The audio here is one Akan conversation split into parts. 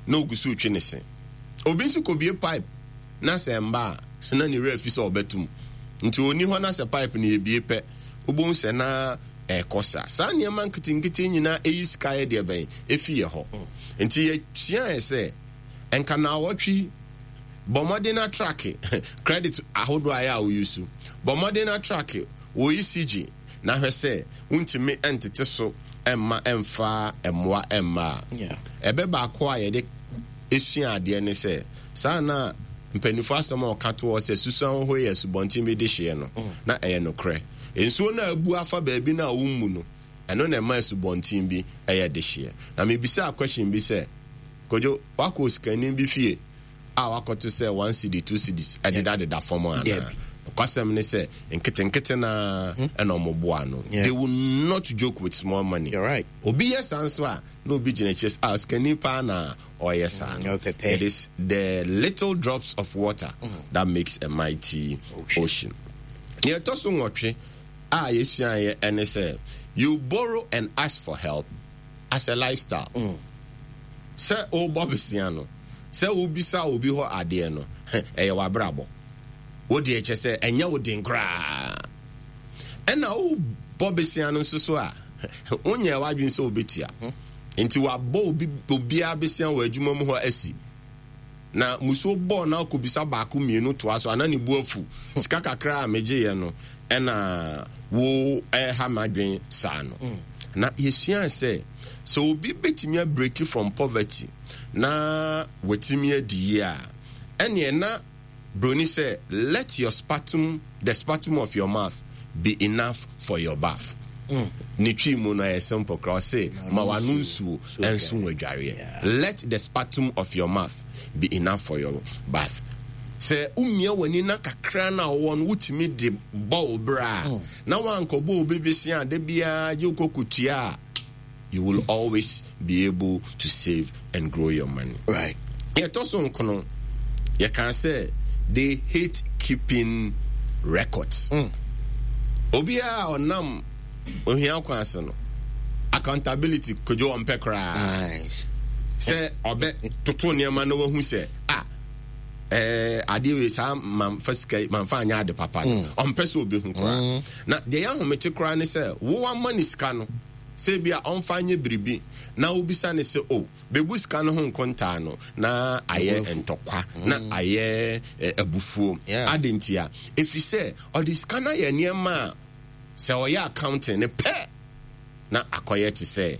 na ogu so retwe ne se. Obi nso kɔbue pipe na sɛ ɛmba a, na ne werɛ afi sɛ ɔbɛto mu. Nti ɔnni hɔ na sɛ pipe no yɛbue pɛ, wobɛhu sɛ na ɛrekɔ saa. Saa nneɛma nketenkete nyinaa ɛyi sika yɛ deɛ bɛn? Ɛfi yɛ hɔ. Nti yɛsuaeɛ sɛ, nka naawɔtwe yi, bɔ mmɔden na trake credit ahodoɔ a ɛyɛ a woyi so. Bɔ mmɔden na trake wo ECG na hwɛ sɛ wontumi ntete so mma ɛmfa mmoa mma a. Ɛbɛ baako a yɛde sua adeɛ ne sɛ, saa na mpanimfoɔ asɛm a wɔka to hɔ sɛ susuan hoho yɛ asubɔnten bi dehyeɛ no, na ɛyɛ nokorɛ. Nsuo no a abu afa baabi no a wommu no, ɛno na ɛma asubɔnten bi yɛ dehyeɛ. Na mebisaa question bi sɛ, Kojo, woakɔ osikani bi fie a woakɔto sɛ 1 cedi, 2 cedis ɛdedadeda fam anaa? Nokwasɛm ne sɛ, nketenkete no ara ɛna wɔboa ano. They will not joke with small money. You're right. Obi yɛ saa nso a, na obi gyina akyire sɛ, ah, osikani paa na ɔyɛ saa no. It is the little drops of water that makes a mighty ocean. Nea ɛtɔ so nwɔtwe a yɛsuaeɛ ɛne sɛ, you borrow and ask for help as a lifestyle. Sɛ wobɔ besia no, sɛ wobisa obi hɔ adeɛ no, ɛyɛ w'abrabɔ. Wo deɛ kyɛ sɛ ɛnyɛ wo den koraa. Ɛna wobɔ besia no nso so a, wonyɛ w'adwene sɛ wobɛtua. Nti wabɔ obi obiara besia wɔ adwuma mu hɔ asi. Na musuo bɔɔ na akɔbisa baako mmienu toa so ana ne bu afu. Sika kakra a megyeeɛ no ɛna wo ɛha m'adwene saa no. Na yɛsua sɛ sɛ obi bɛtumi abreak from poverty na watumi adi yie a, ɛneɛ na broni sɛ, let your sputum, the sputum of your mouth be enough for your bath. Ne Twi mu no ɛyɛ simple koraa, ɔse ma w'ano nsuo ɛnso w'adwareɛ. Let the sputum of your mouth be enough for your bath. Sɛ womia w'ani na kakra no a wowɔ no wotumi de bɔ wo bra a, na woankɔbɔ obi bosea a da biara gye wokɔ kɔtua a, you will always be able to save and grow your money. Yɛtɔ so nkono, yɛka sɛ they hate keeping records. Obiara a ɔnam ohia kwan ase no, accountability kodwo ɔmpɛ koraa. Sɛ ɔbɛ toto nneɛma na wahu sɛ ah, adeɛ wei saa mamfa sika yi mamfa anyɛ ade papa no, ɔmpɛ sɛ obi koraa. Na deɛ yɛ ahomete koraa ne sɛ wo ama ne sika no sɛ bi a ɔmfa nyɛ biribi na wobisa ne sɛ, o bɛbu sika no ho nkontaa no, na ayɛ ntɔkwa na ayɛ abufuo. Ade nti a ɛfiri sɛ ɔde sika no ayɛ nneɛma a sɛ ɔyɛ accounting ne pɛ na akɔyɛ te sɛ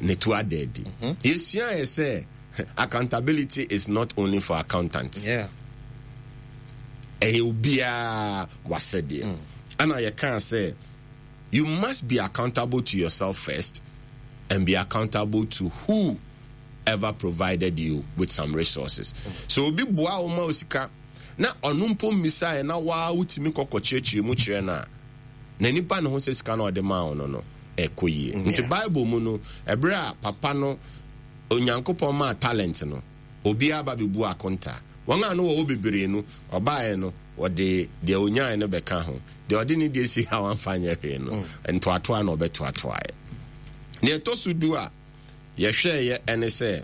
ne to ada adi. Yɛsua yɛ sɛ accountability is not only for accountants. Ɛyɛ obiara wasɛdeɛ. Ɛna yɛkaa sɛ you must be accountable to yourself first and be accountable to who ever provided you with some resources. So obi boa wo ma osika na ɔno mpo mmisaeɛ na waa wotumi kɔkɔ kyerɛkyerɛ mu kyerɛ no a, na nipa ne ho sɛ sika na ɔde maa wo no ɛkɔ yie. Nti Bible mu no, ɛberɛ a papa no Onyankopɔn maa talent no, obiara ba bɛbu akonta. Wɔn a no wɔwɔ bebree no, ɔbaeɛ no, wɔde deɛ onyaeɛ no bɛka ho. Deɛ ɔde ne deɛ si ha wamfa nyɛ hwee no, ntoatoa na ɔbɛtoatoaeɛ. Nea ɛtɔ so 10 a yɛhwɛeɛ ɛne sɛ,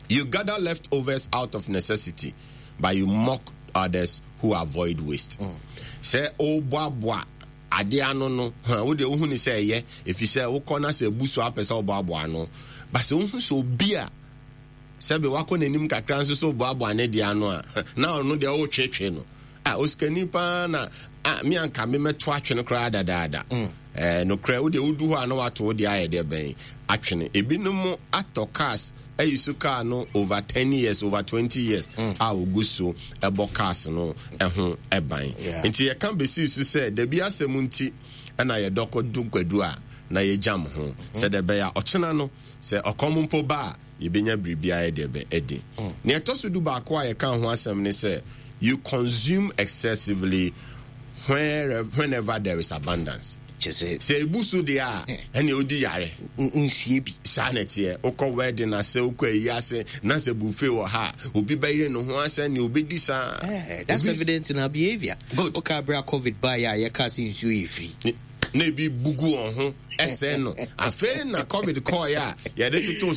you gather leftovers out of necessity, but you mock others who avoid waste. Sɛ woboaboa adeɛ ano no, wo deɛ wohu ne sɛ ɛyɛ, ɛfiri sɛ wokɔ na sɛ abu so apɛ sɛ woboaboa ano. Ba sɛ wohu sɛ obi a sɛbe wakɔ n'anim kakra nso so boaboa ne deɛ ano a, na ɔno deɛ wotwetwe no. Ah, osikani paa na ah, me anka me mɛto atwene koraa dadaada. Nokorɛ, wo deɛ wodu hɔ a na wato wo deɛ ayɛ deɛ bɛn atwene. Ebinom atɔ cars ayi so car no over 10 years, over 20 years a ogu so ɛbɔ cars no ɛho ɛban. Nti yɛka bɛsii so sɛ dabi asɛm nti ɛna yɛdɔ kɔdu kwadu a na yɛgyam ho. Sɛdeɛ ɛbɛyɛ a ɔkyena no sɛ ɔkɔm mpo ba a, yɛbɛnya biribi ayɛ deɛ bɛ adi. Nea ɛtɔ so 11 a yɛka ho asɛm ne sɛ, you consume excessively whenever there is abundance. Sɛ ebu so deɛ a, ɛnea odi yare. Nsie bi. Saa na ɛteɛ. Wokɔ wedding ase, wokɔ ayi ase, na sɛ buffet wɔ ha a, obi bɛyere ne ho asɛ nea obɛdi saa. That's evident in our behavior. Good. Woka abere a COVID baeɛ a yɛkaa sɛ nsuo yɛ free. Na ebi bugu wɔn ho ɛsɛn no. Afei na COVID kɔɔeɛ a yɛde toto